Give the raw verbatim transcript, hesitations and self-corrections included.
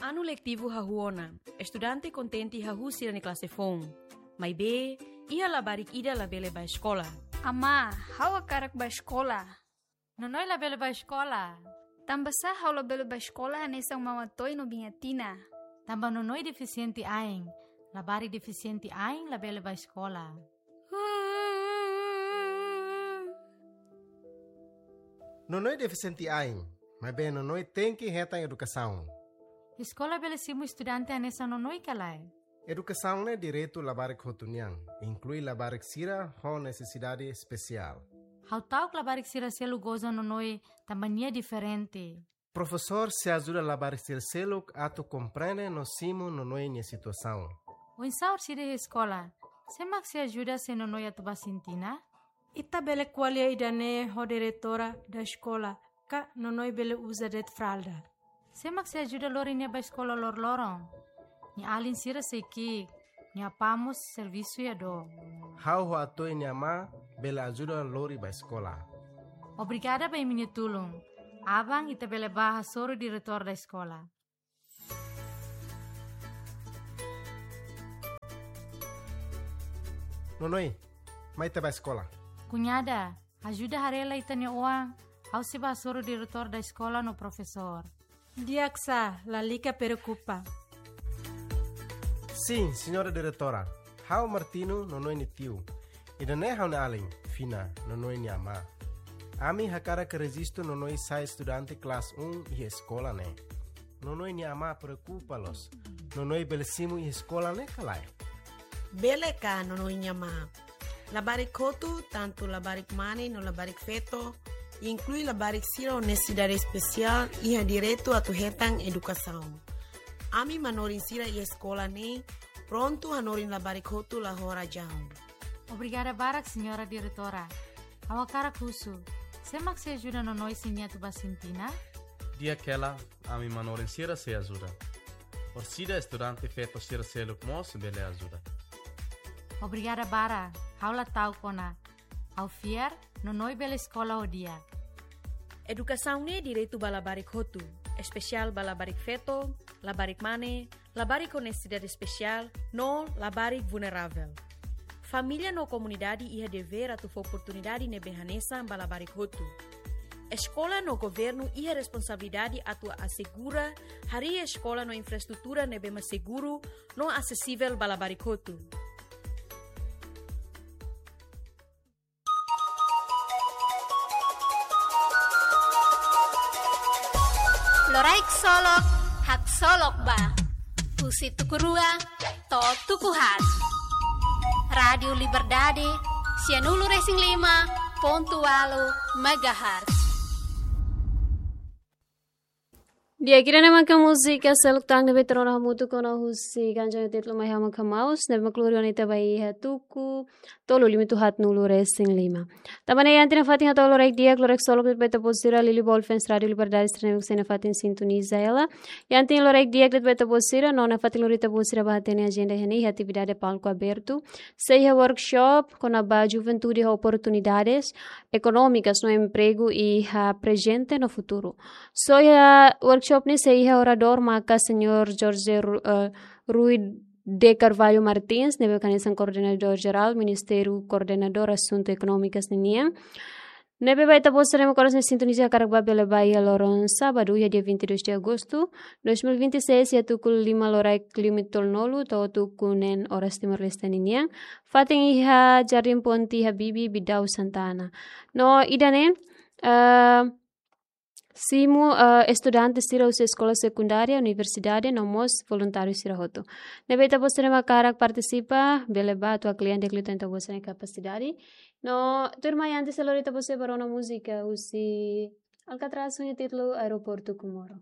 Anu letivu hahú ona, estudante kontente hahú sira-nia klase foun. Maibé, iha labarik ida labele bá eskola. Amá, ha'u hakarak bá eskola. Nonoi labele bá eskola. Tanbasá ha'u labele bá eskola hanesan Mama Toy no Biña Tina? Tanba Nonoi defisiente ain. Labarik defisiente ain labele bá eskola. Nonoi defisiente ain, maibé Nonoi tenke hetan edukasaun. Eskola bele simu estudante hanesan Nonoi ka lae? Edukasaun ne'e direitu labarik hotu nian, inklui labarik sira ho nesesidade espesiál. Ha'u ta'uk labarik sira seluk goza Nonoi tanba nia diferente. Profesór sei ajuda labarik sira seluk atu komprende no simu Nonoi nia situasaun. Oinsá orsida iha eskola? Sé mak sei ajuda se Nonoi atu bá sintina? Ita bele ko'alia ida-ne'e ho diretora da eskola, ka Nonoi bele uza de'it fralda. Sé mak sei ajuda lori nia bá eskola loroloron? Nia alin sira sei ki'ik, nia apá mós servisu iha dook. Ha'u ho Atoy nia amá bele ajuda lori bá eskola. Obrigada ba imi-nia tulun. Aban ita bele bá hasoru diretór da eskola. Nonoi, mai ita bá eskola. Kuñada, ajuda haree lai ita-nia oan, ha'u sei bá hasoru diretór da eskola no profesór. Di'ak sá, lalika preokupa. Sin, señora diretora. Ha'u Martino, Nonoi nia tiu. Ida-ne'e ha'u-nia alin, Fina, Nonoi nia amá. Ami hakarak rejistu Nonoi sai estudante klase un iha eskola ne'e. Nonoi nia amá preokupa loos. Nonoi bele simu iha eskola ne'e ka lae? Bele ka, Nonoi nia amá. Labarik hotu, tantu labarik mane no labarik feto, inklui labarik sira ho nesesidade espesiál, iha direitu atu hetan edukasaun. Ami manorin sira iha eskola ne'e prontu hanorin labarik hotu la ho razaun. Obrigada barak, señora diretora. Ha'u hakarak husu, sé mak sei ajuda Nonoi se nia atu bá sintina? Di'ak hela, ami manorin sira sei ajuda. Orsida estudante feto sira seluk mós bele ajuda. Obrigada barak, ha'u la ta'uk ona. Ha'u fiar, Nonoi bele eskola ho di'ak. Edukasaun ne'e direitu ba labarik hotu, espesiál ba labarik feto, labarik mane, labarik ho nesesidade espesiál, no labarik vulneravel. Família no komunidade iha devér atu fó oportunidade ne'ebé hanesan ba labarik hotu. Eskola no governu iha responsabilidade atu asegura harii eskola no infraestrutura ne'ebé mak seguru no asesivel ba labarik hotu. Loraik solok, haksolok ba. Husi tuku rua to'o tuku haat. Rádiu Liberdade, sianulu resin lima pontu ualu megahertz. Di'ak, ida-ne'e maka múzika seluk tan ne'ebé tuur ona hamutuk ona husi kanjang títulu Mai Ha'u Mak Hamaus, ne'ebé mak lori ona ita ba iha tuku tolu limitu haatnulu resin lima. Tanba ne'e iha ita-nia fatin hato'o loraik di'ak, loraik solok de'it ba ita-boot sira Lili Ball fans Rádiu Liberdade sira ne'ebé mak sei iha fatin sintoniza hela. Iha ita-nia loraik di'ak de'it ba ita-boot sira, no iha fatin lori ita-boot sira ba hatene ajenda iha ne'e, iha atividade palku abertu. Sei iha workshop kona-ba juventude ho oportunidades ekonómikas no empregu iha prezente no futuru. Só iha workshop ne'e sei iha oradór maka señór Jorge Ru-, eh, Rui de Carvalho Martins, ne'ebé mak hanesan koordenadór jerál Ministériu Koordenadór Asuntu Ekonómikas ninian. Ne'ebé ba ita-boot sira ne'ebé mak oras ne'e sintoniza hakarak bá bele bá iha loron sábadu, iha dia vinte e dois de agosto dois mil e vinte e seis, iha tuku lima loraik limitu tolunulu to'o tuku neen oras Timor-Leste ninian. Fatin iha Jardim Ponte Habibie, Bidau, Santana. No ida-ne'e, eh, simu, eh, estudante sira husi eskola sekundária, universidade, no mós voluntáriu sira hotu. Ne'ebé ita-boot sira ne'ebé mak hakarak partisipa, bele bá atu haklean di'ak liután ita-boot sira-nia kapasidade. No, tuirmai antes sei lori ita-boot sira ba rona múzika husi Alcatraz ho nia títulu Aeroportu Comoro.